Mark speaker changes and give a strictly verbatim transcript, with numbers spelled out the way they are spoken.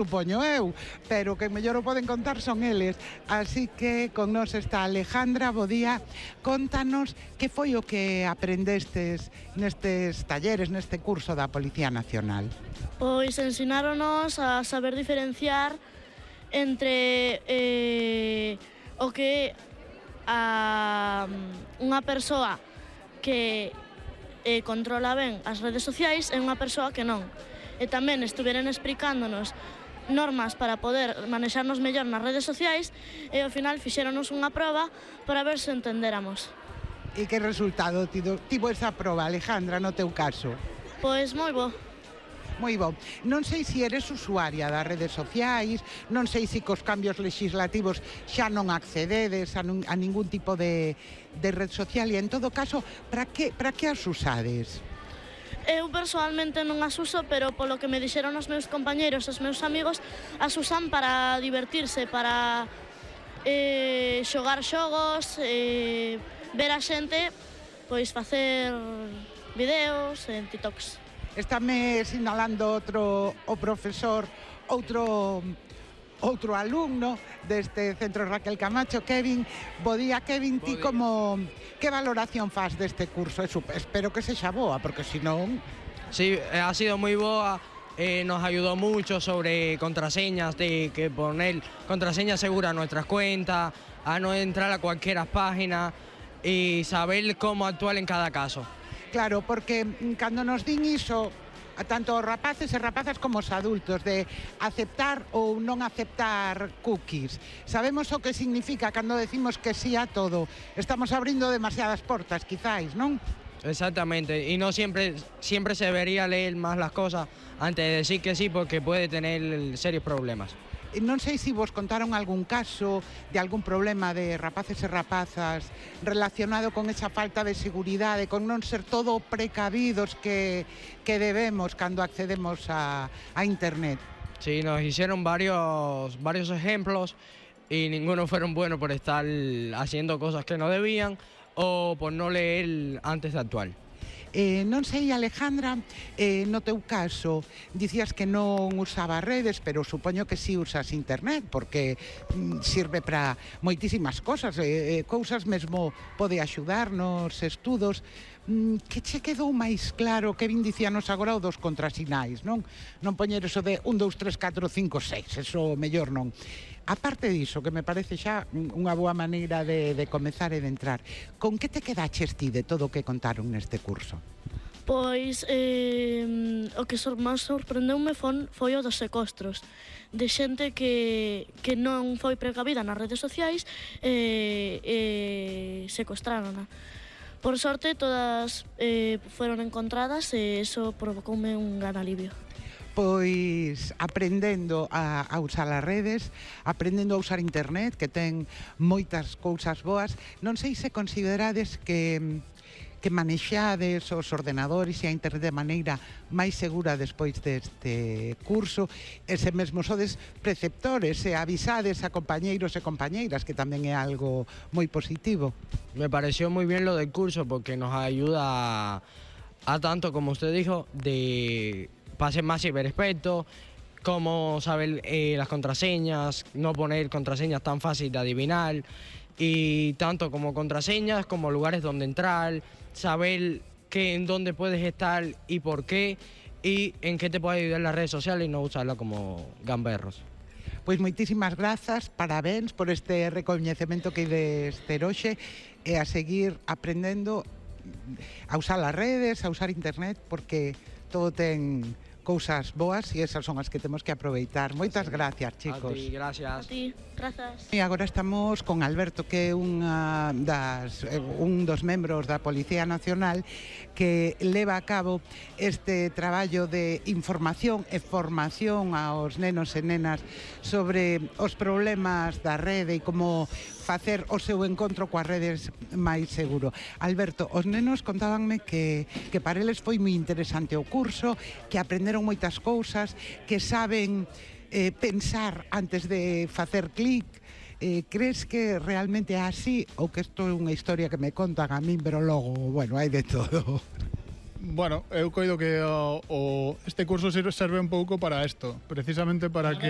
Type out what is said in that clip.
Speaker 1: supoño eu, pero que mellor o poden contar son eles. Así que con nos está Alejandra, bo día. Contanos que foi o que aprendestes nestes talleres, neste curso da Policía Nacional.
Speaker 2: Pois ensináronos a saber diferenciar entre eh, o que a unha persoa que eh, controla ben as redes sociais e unha persoa que non. E tamén estuveran explicándonos normas para poder manexarnos mellor nas redes sociais e ao final fixéronos unha proba para ver se entendéramos.
Speaker 1: E que resultado tivo, tivo esa proba, Alejandra, no teu caso?
Speaker 2: Pois moi bo.
Speaker 1: Moi bo. Non sei se eres usuaria das redes sociais, non sei se cos cambios legislativos xa non accededes a, nun, a ningún tipo de, de red social e en todo caso, para que, para que as usades?
Speaker 2: Eu personalmente non as uso, pero polo que me dixeron os meus compañeiros, os meus amigos, as usan para divertirse, para eh, xogar xogos, eh, ver a xente, pois facer videos en TikToks.
Speaker 1: Estáme sinalando outro o profesor, outro outro alumno deste centro Raquel Camacho, Kevin. Bo día, Kevin, ti como que valoración faz deste curso? Eso, espero que sexa boa, porque se non...
Speaker 3: Sí, ha sido moi boa, eh, nos ayudó mucho sobre contraseñas, de que poner contraseñas seguras a nuestras cuentas, a no entrar a cualquier página y saber cómo actuar en cada caso.
Speaker 1: Claro, porque cando nos din iso, a tanto os rapaces e rapazas como os adultos, de aceptar ou non aceptar cookies. Sabemos o que significa cando decimos que sí a todo. Estamos abrindo demasiadas portas, quizáis, non?
Speaker 3: Exactamente, y no siempre, siempre se debería leer más las cosas antes de decir que sí, porque puede tener serios problemas.
Speaker 1: Non sei se vos contaron algún caso de algún problema de rapaces e rapazas relacionado con esa falta de seguridade, con non ser todo precavidos que, que debemos cando accedemos a, a internet.
Speaker 3: Sí, nos hicieron varios, varios ejemplos y ninguno fueron buenos por estar haciendo cosas que no debían o por no leer antes de actuar.
Speaker 1: Eh, non sei, Alejandra, eh, no teu caso, dicías que non usaba redes, pero supoño que si sí usas internet, porque mm, sirve para moitísimas cosas, eh, eh, cousas mesmo pode axudar nos estudos. Mm, que che quedou máis claro que vin dicíanos agora o dos contrasinais, non? Non poñer eso de un, dous, tres, catro, cinco, seis, eso mellor non. Aparte diso, que me parece xa unha boa maneira de, de comezar e de entrar, con que te quedaches ti de todo o que contaron neste curso?
Speaker 2: Pois eh, o que máis sorprendeume foi, foi o dos secuestros, de xente que, que non foi precavida nas redes sociais e eh, eh, secuestrárona. Por sorte, todas eh, foron encontradas e iso provocoume un gran alivio.
Speaker 1: Pois aprendendo a, a usar as redes, aprendendo a usar internet, que ten moitas cousas boas. Non sei se considerades que que manexades os ordenadores e a internet de maneira máis segura despois deste curso, e se mesmo sodes preceptores e avisades a compañeiros e compañeiras, que tamén é algo moi positivo.
Speaker 3: Me pareció muy bien lo del curso porque nos ayuda a, a tanto, como usted dijo, de ser más ciberexpertos, cómo saber eh, las contraseñas, no poner contraseñas tan fáciles de adivinar, y tanto como contraseñas como lugares donde entrar, saber que, en dónde puedes estar y por qué, y en qué te puede ayudar las redes sociales y no usarlas como gamberros.
Speaker 1: Pois moitísimas grazas, parabéns por este recoñecemento que ides ter hoxe e a seguir aprendendo a usar as redes, a usar internet, porque todo ten cousas boas e esas son as que temos que aproveitar. Moitas gracias, chicos.
Speaker 3: A ti, gracias.
Speaker 2: A ti, grazas.
Speaker 1: E agora estamos con Alberto, que é unha das, un dos membros da Policía Nacional que leva a cabo este traballo de información e formación aos nenos e nenas sobre os problemas da rede e como facer o seu encontro coas redes máis seguro. Alberto, os nenos contábanme que, que para eles foi moi interesante o curso, que aprenderon moitas cousas, que saben eh, pensar antes de facer clic. Eh, crees que realmente é así ou que isto é unha historia que me contan a min, pero logo, bueno, hai de todo?
Speaker 4: Bueno, eu coido que o, o, este curso serve un pouco para isto, precisamente para que